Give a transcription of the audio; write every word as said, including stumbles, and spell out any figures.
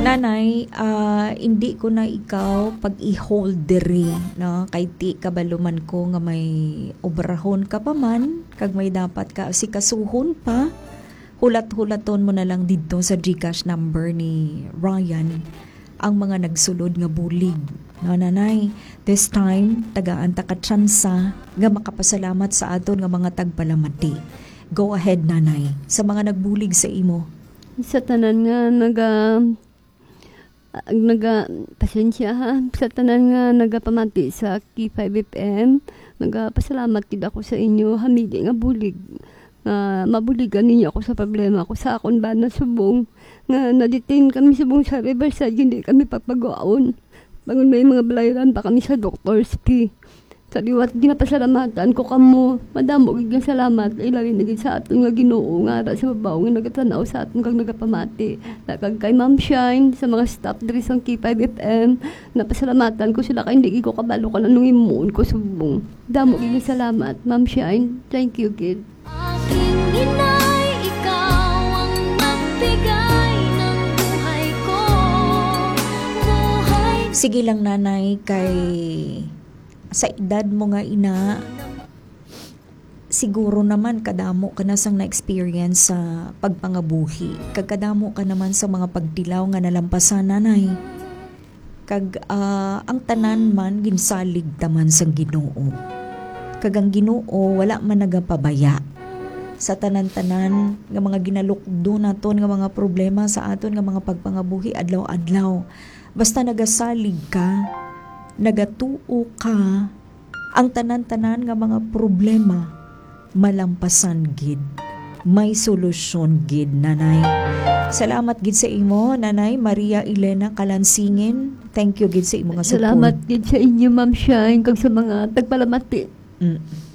Nanay, ah, hindi ko na ikaw pag-i-hold diri, no? Kay ti kabalo man ko nga may obrahon ka pa man, kag may dapat ka sikasuhon pa. Hulat-hulaton mo na lang didto sa GCash number ni Ryan ang mga nagsulod nga bulig. No, Nanay, this time, tagaan ta ka tsansa nga makapasalamat sa aton nga mga tagpalamati. Go ahead, Nanay, sa mga nagbulig sa imo. Sa tanan nga naga-, naga-, pasensya ha, sa tanan nga nagapamati sa K five F M, nagapasalamat gid ako sa inyo, hamili nga bulig, nga mabuligan ninyo ako sa problema ko sa akon bana subong nga na-detain kami subong sa Riverside, hindi kami papaguaon. Bangon may mga balayran pa kami sa doctor's fee. Sa liwat, ginapasalamatan ko kamo. Madamo gid nga salamat, ilabi na gid sa aton nga Ginoo nga ara sa babaw nga nagatan-aw sa aton kag nagapamati. Na kag kay Ma'am Shine, sa mga staff diri sa K five F M, napasalamatan ko sila kay hindi gid ko kabalo kung anong himuon ko subong. Damo gid nga salamat, Ma'am Shine. Thank you gid. Aking inay, ikaw ang nagbigay ng buhay ko. Buhay Sige lang, Nanay, kay sa edad mo nga ina, siguro naman kadamo ka na sang na-experience sa pagpangabuhi, kag kadamo ka naman sa mga pagtilaw nga nalampasan, Nanay. Kag, ah, ang tanan man ginsalig ta man sang Ginoo. Kag ang Ginoo wala man nagapabaya sa tanan-tanan nga mga ginalukdo naton nga mga problema sa aton nga mga pagpangabuhi adlaw-adlaw. Basta nagasalig ka, nagatuo ka, ang tanan-tanan nga mga problema malampasan gid. May solusyon gid, Nanay. Salamat gid sa imo, Nanay Maria Elena Kalansingin. Thank you gid sa imo nga support. Salamat gid sa inyo, Ma'am Shine, kag sa mga tagpalamati. Mm.